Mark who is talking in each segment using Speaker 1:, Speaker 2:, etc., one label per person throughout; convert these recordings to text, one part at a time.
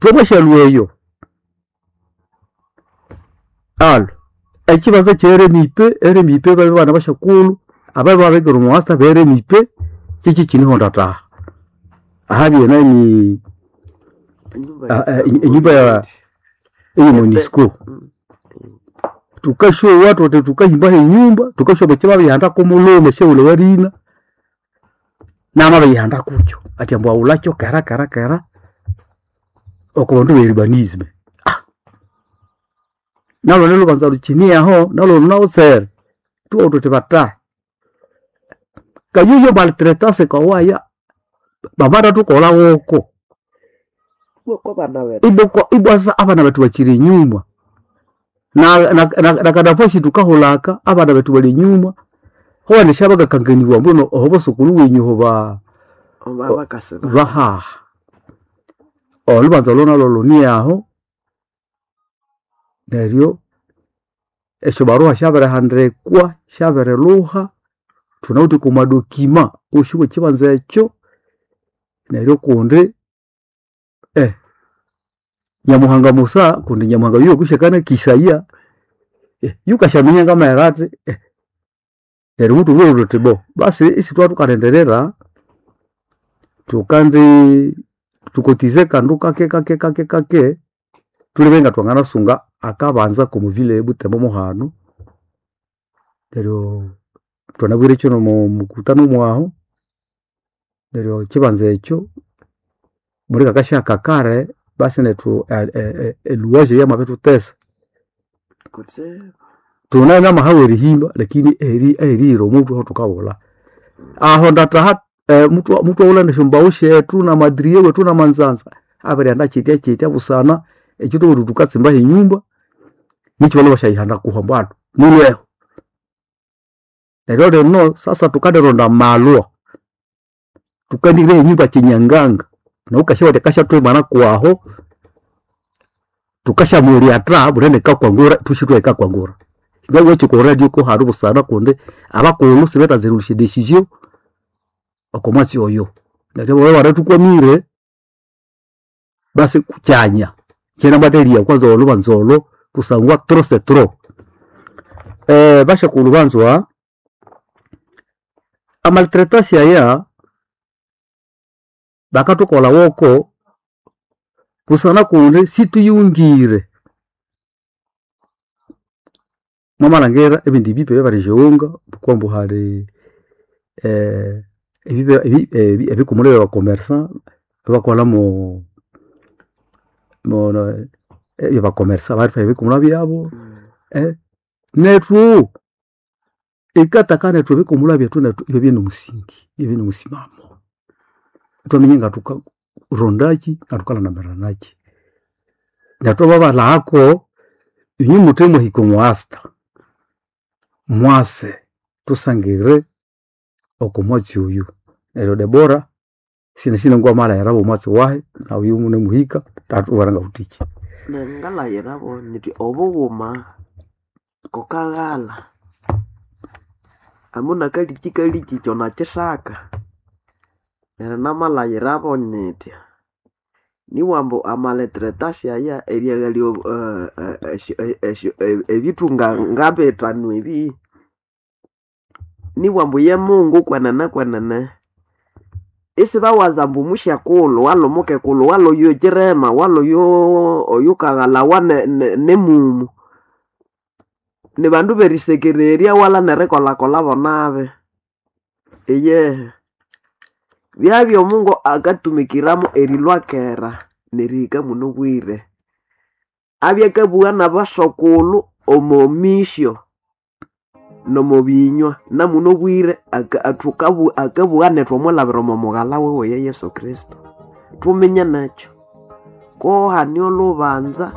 Speaker 1: Twamwashalwa eyo alo ekibanza kye RMIP, RMIP babe bana bashakulhu ababe babikira omuwasta be RMIP kyekyi kinihonda taha ahabye nani enyumba ya eye MONUSCO. Tukasyowa thuthi thukahimbaho enyumba tukasyowa ambu ekyababirihanda komulhume syawulha warina namabiriyihanda kukyo athi ambu aghulhakyo kera kera kera oko bandu be urbanism. Nalhundi lhubanza lhukyine aho nalhu lunawutsere thubugha thuthi bathahi kayuyo maltretance kawaya bamatathukolha woko ibwa abana bethu bakyiri enyuma nakanafashi thukahulhaka abana bethu bali enyuma huwanesya bakakanganibwa mbunu oho bosokulhu wenyu oho bahaha. Olhubanza olho nalho lhune aho neryo esyobaruha syabirihandikwa syabirilhuha thunawithe okwa madokima wosi wekyibanza ekyo neryo kundi Nyamuhanga Musa kundi Nyamuhanga yuyo kusyakana kisaya yukasyaminya ngamaghera athi neryo muthubwire thuthi bo basi isithwathukalindirira thukandi thukotize kandu kake kake kake kake thulebe nga thwanganasunga akabanza k'omuvile ebutembo muhano neryo thwanabwirekyo n'omo mukutano mwahu neryo ekibanza ekyo mulikakasyaka kare basi nethu eluwaje yamabirithutesa. Thune namahawa erihimba lakini aherihira omuthwe aho thukabulha. Aho ndathaha muthwaghulha nesyombaghu syethu namadiriye wethu namanzanza abirighenda kyitya kyitya busana ekyo thwabugha thuthi thukatsimbaho enyumba nikyo balhwe basyayihanda kuho ambu alho mulhweho. Neryo lino sasa thukandironda amalwa thukandihiraho enyumba kyinyanganga nawu wukasyabuwa wuthi akasyathwimana kwaho thukasyamulyatha bunene ekakwangura ithwasi ithwaya ekakwangura. Ngabugha kyi oko radio kuhali busana kundi abakulhu sibethanza erilhusya edecision oko mwatsi oyo. Neryo bababya ibanathukwamire basi kyanya kyanamatheria kwanza olhubanza olho kusangwa trop c'est trop. Basyakulhu banzwa amaltretasi aya bakathukolha woko busana kundi sithuyighungire. Mwamalhangira ebindi bipe ebyabiriyighunga thukambu hali ebikumuli ebya commerçant ebakolha mo ebyaba commerçant babirithwala ebikumulha byabu nethu yikataka nethu ebikumulha byethu nethu ibyabya nomusingi ibyabya nomusimamo. Ithwaminya ngathukarondakyi ngathukalhandamiranakyi. Neryo thwamabalhagako inywe muthe mwahika omwa asta mwase thusangire oko mwatsi oyu. Neryo Debora sinasi ngwamalhaghirabo omwatsi wahi nawu munemuhika athubwira ngawuthikyi.
Speaker 2: Nengalayirabo nyithi obughuma kokaghalha amuna kaliki kyo nakisaka neryo namalayirabo nyithya niwambu amalitretasi aya eriaghalya ebithunga ngabithanu ebi niwambu ye Mungu kwenene kwenene isibawaza ambu musyakulhu walhu mukekulhu walhu oyo kyirema walhu oyo oyukaghalawa nemumu nibandu berisekererya wala nerikolhakolhabo nabi iyehe byabya omungu akatumikiramu erilhwa kera nerihika munobwire abya akabugha nabasokulhu omo misyo nomo binywa namunobwire akabugha nethu omwilhabira omo mughalha wiwe ye Yesu Kristo. Thuminye nekyo kohani olhubanza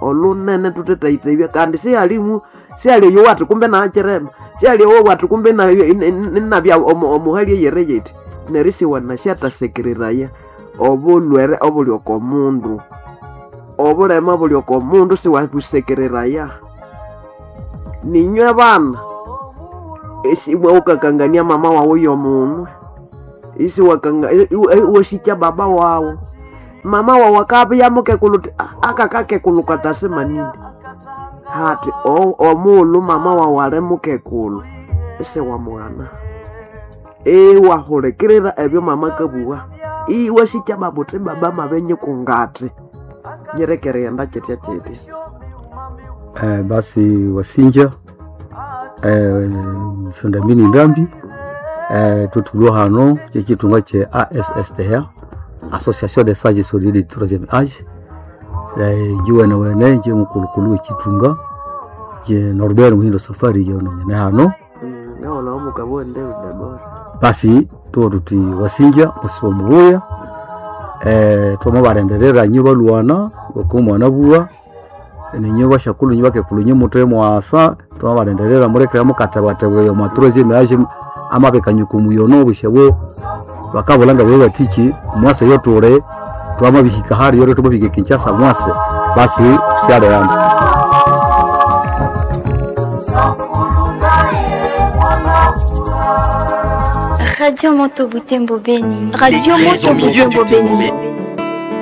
Speaker 2: olhunene thuthethayithayibya kandi sihalimu sihali oyowathi kumbe nakyirema sihali oyowathi kumbe inabya omuhali eyiri yithi neryo isiwanasyathasyekereraya obulhwere obuli oko mundu obulema obuli oko mundu siwabusekereraya ninywe bana iwawukakangania mama wawu yomunwe iwasikya baba wawu. Mama wawu akabya mukekulu uthi, "Ah, akakakekulu katasema nini?" Hati omuulu mama wawu ali mukekulu isi wamughana, iwahulikirira ebyo mama kabuwa, iwasikya baba uthi baba mabinyikungati nyireke erighenda kyitya kyitya.
Speaker 1: Basi wasinja shondambini ndambi tutulwa hano kyekitunga kye ASSTA, Association des Sages Solidaires du Troisième Âge. Njiwene wene nje mukulukulu wekitunga je Norbert Muhindo Safari yononyene hano.
Speaker 2: Ngawona omukabwa wendeu Debora.
Speaker 1: Basi tuwo tuti wasinja musibo mubuya, twamabarenderera nyo balwana ngoko mwana buwa ninyo bashakulu nyo bakekulu nyo mutwe mwasa, twamabarenderera murekera mukatabwatabwa yo matroisième âge amabekanyuku muyono obushebo bakabulanga bwe batiki mwase yotule twamabihika hari yore tumabihika Kinshasa mwase basi syaleana.
Speaker 3: Radio Moto Butembo Beni.
Speaker 4: Radio
Speaker 5: Très au
Speaker 4: Moto
Speaker 5: milieu
Speaker 4: Butembo
Speaker 5: du
Speaker 4: Beni.
Speaker 5: Témomé.